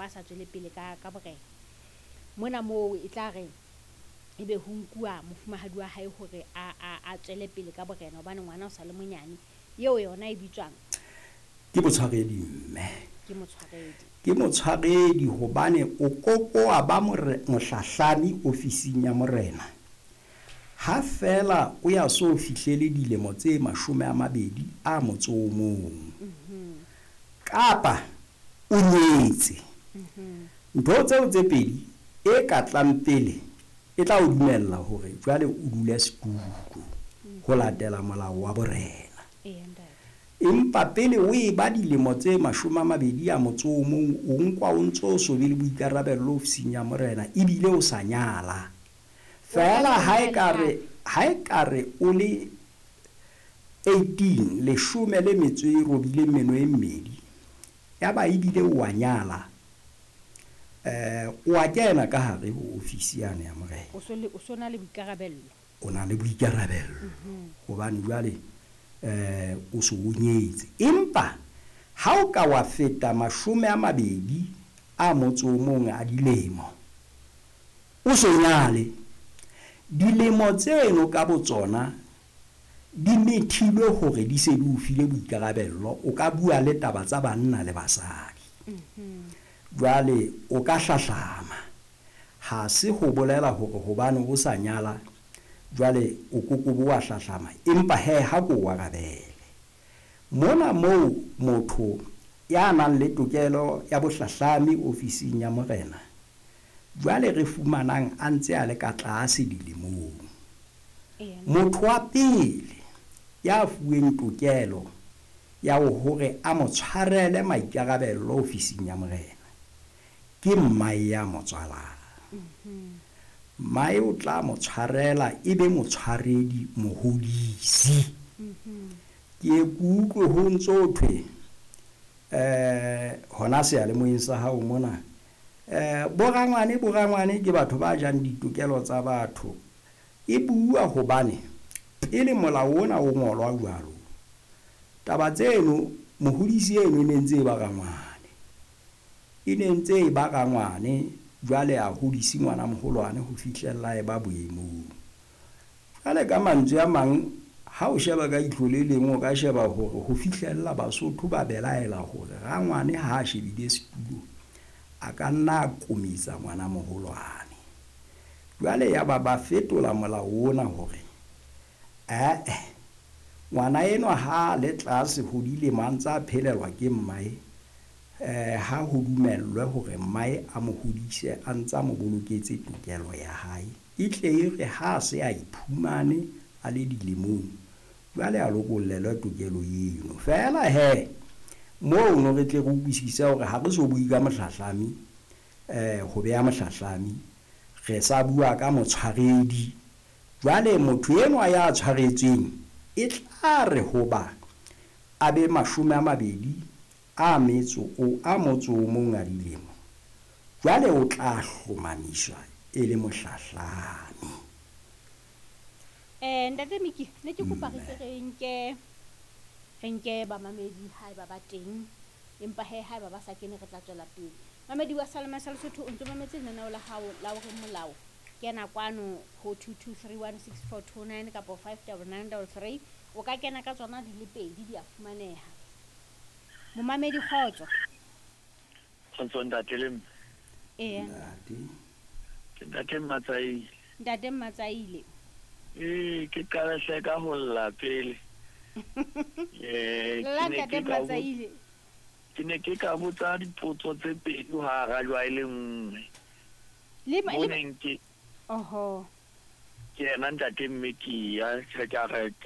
kapa a sa tswele pele ka ka borena. Mona moo e tla re ebe ho nkuwa mofumahadi wa hae hore a tswele pele ka borena hobane ngwana o sa le monyane. Eo yona e bitswang? Ke motshwaredi mme. Ke motshwaredi. Ke motshwaredi hobane o kokoa ba mohlahlami ofising ya morena. Ha feela o ya so fihlele dilemo tse 21. Kapa o nyetse. Ntho tseo tse pedi e ka tlang pele e tla o dumella hore jwale o dule setulo ho latela molao wa borena. Empa pele o e ba dilemo tse 21, o nkwa o ntso so be le boikarabello ofising ya morena ebile o sa nyala. Feela ha e ka re o le 18, 18, ya ba ebile o a nyala, o a kena ka hare ho ofisi yane ya morena. O so na le boikarabello. O na le boikarabello. Hobane jwale o so o nyetse. Empa ha o ka wa feta 21 a dilemo, o so nyale, dilemo tseno ka botsona di methilwe hore di se di o file boikarabello, o ka bua le taba tsa banna le basadi. Jwale o ka hlahlama. Ha se ho bolela hore hobane o sa nyala jwale o kokobo wa hlahlama, empa he ha ko o arabele. Mona moo motho ya nang le tokelo ya bohlahlami ofising ya morena jwale re fumanang a ntse a le ka tlase dilemong. Motho wa pele ya fuweng tokelo ya hore a mo tshwarele maikarabello ofising ya morena ke mmae ya mo tswalang. Mmae o tla mo tshwarela e be motshwaredi mohodisi. Ke kutlwe ho ntso thwe hona seyalemoyeng sa hao mona, borangwane ke batho ba jang ditokelo tsa batho. E bua hobane pele molao ona o ngolwa jwalo, taba tseno mohodisi eno e ne ntse e ba rangwane. E ne ntse e ba rangwane, jwale a hodisi ngwana moholwane ho fihlella e ba boemong. Jwale ka mantswe a mang, ha o sheba ka ihlo le leng, o ka sheba hore ho fihlella Basotho ba belaela hore rangwane ha a shebile setulo a ka nna a kometsa ngwana moholwane. Jwale ya ba ba fetola molao ona hore ngwana enwa ha le tlase ho dilemo a ntse a phelelwa ke mmae, ha ho dumellwe hore mmae a mo hodise a ntsa mo boloketse tokelo ya hae. E tle e re ha se a iphumane a le dilemong, jwale a lokollelwe tokelo eno. Feela he moo no re tle re utlwisise hore ha re so bue ka mohlahlami, ho beha mohlahlami, re sa bua ka motshwaredi. Jwale motho enwa ya tshwaretsweng e tla re hoba a be 21 a dilemo, jwale o tla hlomamiswa e le mohlahlami. Ntate Miki, ne ke kopa re ke re nke bamamedi haeba ba teng, empa he haeba ba sa kene re tla tswela pele. Mamedi wa Salema sa Lesotho, o ntso mametse lenaneo la hao la hore molao. Kena kwano ho 22316429 kapa 59933. O ka kena ka tsona di le pedi, di a fumaneha. Momamedi, kgotso. Kgotso ntate le mme. Ee. Ntate. Ke ntate Mmatsaile. Ntate Mmatsaile. Ee, ke qala hle ka ho lla pele. Lla ntate Mmatsaile. Ke ne ke ka botsa dipotso tse pedi ho arajwa e le nngwe. Le Moneng ke Oho. Ke yena ntate mme ke ya, ke ka re